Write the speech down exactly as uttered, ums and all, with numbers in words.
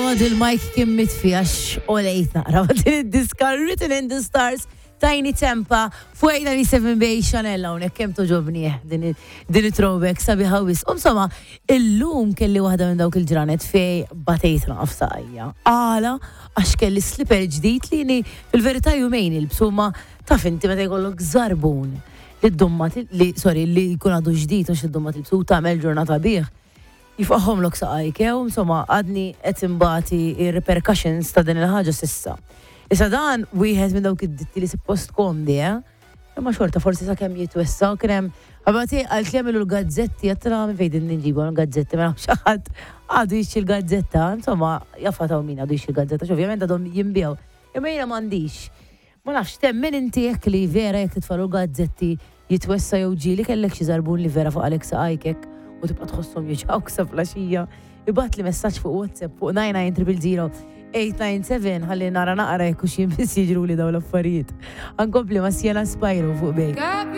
God, il-mic kien mitfi għax olejt naqra ma din id-diska Written in the Stars, Tinie Tempah, fuq eight ninety-seven Bay Chanel hawnhekk. Kemm togħġobni eh, din din it-throwback sabiħa wisq. Insomma, illum kelli waħda minn dawk il-ġranet fej batejt naqaf saqajja. Għala, għax kelli slipper ġdid li ni fil-verità jumejn ilbsu, ma taf inti meta jkollok żarbun li d-dumma li, sorry, li jkun għadu ġdid u xid-dumma tilbsu u tagħmel ġurnata bih, jifqahom lok saqajk, jew insomma għadni qed imbati ir-repercussions ta' din il-ħaġa s'issa. Issa dan wieħed minn dawk id-ditti li suppost komdi, eh? Imma xorta forsi sa kemm jitwessa u kien hemm ħabati għalt li għamilu l-gazzetti, għattra minn fejn din nġibu l-gazzetti, ma nafx ħadd għadu jixtri l-gazzetta, insomma, jaffa min għadu jixtri l-gazzetta, ovvjament għadhom jinbiegħu. Imma jiena m'għandix. Ma nafx, temmen inti jekk li vera jekk titfalu l-gazzetti jitwessa, jew ġieli kellek xi żarbun li vera faqgħalek saqajkek u tibqa' tħosshom juġgħuk sa filgħaxija? Ibgħatli messaġġ fuq WhatsApp fuq nine nine zero zero eight nine seven ħalli nara naqra jekk hux jien biss jiġru li dawn l-affarijiet. Ankompli ma' Sienna Spiro fuq Bay. Got